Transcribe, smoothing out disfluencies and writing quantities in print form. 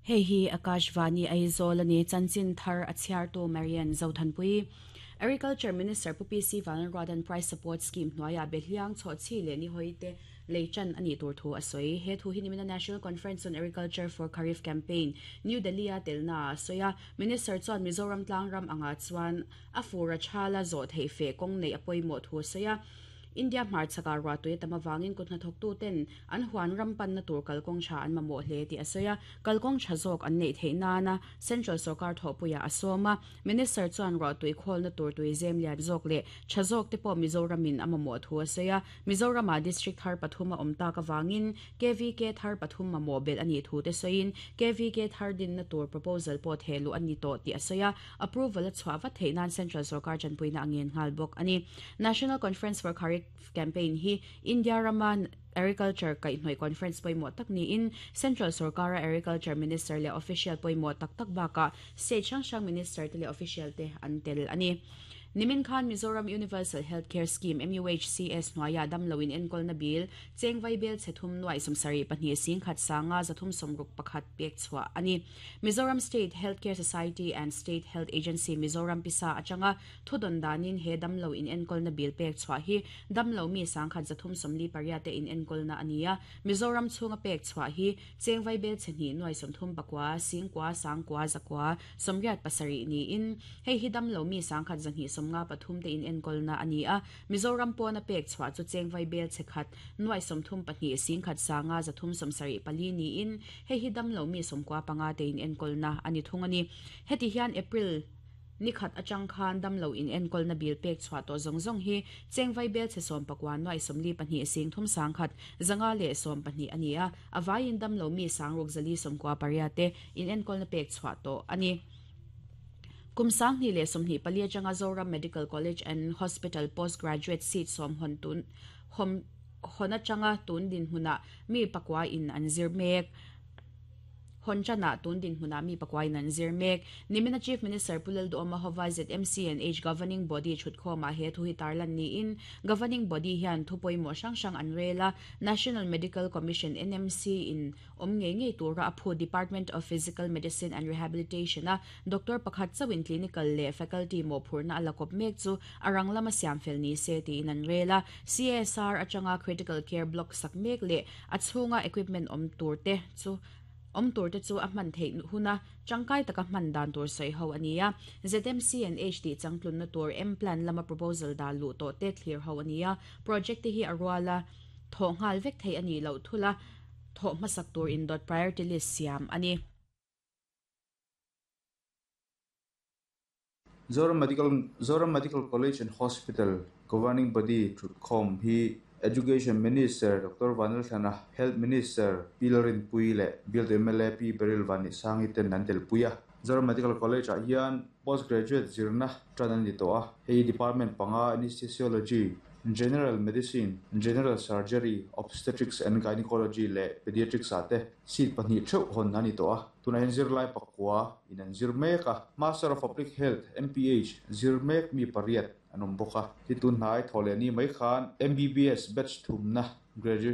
Hei hi Akashvani Aizawl a ni, chanchin thar a chhiartu Marian Zothanpui. Agriculture Minister Pu PC Vanlalruata'n Price Support Scheme hnuaiah Behliang, Chhawhchhi leh Nihawi te lei tan a nih tur thu a sawi. He thu hi nimina National Conference on Agriculture for Kharif Campaign, New Delhi-a telnaah a sawi a. Minister chuan Mizoram tlangram angah chuan a fur a thala zawh theih feh kawng neih a pawimawh thu a sawi a. India hmarchhakah ruahtui a tam avangin kut hnathawktuten an huan ram panna tur kalkawng tha an mamawh hle tih a sawi a, kalkawng tha zawk an neih theih nana Central sawrkar thawhpuiah a sawm a. Minister chuan ruahtui khawlna tur tui zem lian zawk leh tha zawk te pawh Mizoramin a mamawh thu a sawi a. Mizoramah District thar pathum a awm tak avangin KVK thar pathum mamawh belh a nih thu te sawiin KVK thar dinna tur proposal pawh thehluh a ni tawh tih a sawi a. Approval a chhuah vat theih nan Central sawrkar tanpuina a ngen nghal bawk a ni. National Conference for Kharif Campaign hi India rama Agriculture kaihhnawih conference pawimawh tak niin Central sawrkara Agriculture Minister leh official pawimawh tak tak bakah state hrang hrang Minister te leh official te an tel a ni. Nimin khan Mizoram Universal Health Care Scheme, MUHCS, hnuaiah damlo in enkawlna bil cheng vaibel chhe thum nuaih 72 singkhat sanga 361 pek chhuah a ni. Mizoram State Health Care Society and State Health Agency Mizoram pisa atanga thudawn danin he damlo inenkawlna bill pek chhuah hi damlo mi 10 348 te inenkawlna a ni a. Mizoram chhunga pek chhuah hi cheng vaibel chhe hnih nuai 39 singkua sangkua zakua 87 niin hei hi damlo mi 10 253 te inenkawlna a ni a. Mizoram pawna pek chhuah chu cheng vaibel chhe khat nuai 32 singkhat sanga 374 niin Hei hi damlo mi 95 te inenkawlna a ni thung a ni. Heti hian April ni khat atang khan damlo inenkawlna bil pek chhuah tawh zawng zawng hi cheng vaibel chhe 19 nuai 42 sing thum 10 zanga leh 12 a ni a, a vaiin damlo mi 6 498 te inenkawlna pek chhuah tawh a ni. Kum 2024 atanga Zoram Medical College and Hospital Post Graduate seat sawm hawn tun hawm Hawn atanga tun dinhmunah mi pakua in an zir mek. Hawn tanah tun dinhmunah mi pakua in an zir mek. Nimina Chief Minister Pu Lalduhawma hova ZMCNH Governing Body thutkhawmah he thu hi tarlan niin Governing Body hian thu pawimawh hrang hrang an rel a, National Medical Commission, NMC, in awm ngei ngei tura a phu Department of Physical Medicine and Rehabilitation a Doctor pakhat chauhin clinical leh faculty mawhphurhna a la kawp mek chu a rang lama siam fel ni se tiin an rel a. CSR atanga critical care block sak mek leh a chhunga equipment awm tur te chu awm tur te chu a hman theih huna tangkai taka hman dan tur sawi ho a ni a. ZMC and H tih changtlunna tur M-plan lama proposal dah luh tawh te thlir ho a ni a. Project te hi a ruala thawh nghal vek theih a nih loh thula thawh hmasak tur indawt priority list siam a ni. Zoram Medical Zoram Medical College and Hospital Governing Body thutkhawm hi Education Minister Doctor Vanlalthlana, Health Minister Pi Lalrinpuii leh Bialtu mla Pi Beryl Vanihsangi ten an telpui a. Zoram Medical College ah hian Post Graduate zirna tan a ni tawh a, hei Department panga Anesthesiology, General Medicine, General Surgery, Obstetrics and Gynecology leh Pediatrics ah te seat pahnih theuh hawn a ni tawh a. Tunah hian zirlai pakua in an zir mek a, Master of Public Health, MPH, zir mek mi pariat an awm bawk a. Hi tun hnai thawh leh ni mai khan MBBS batch thumna graduation.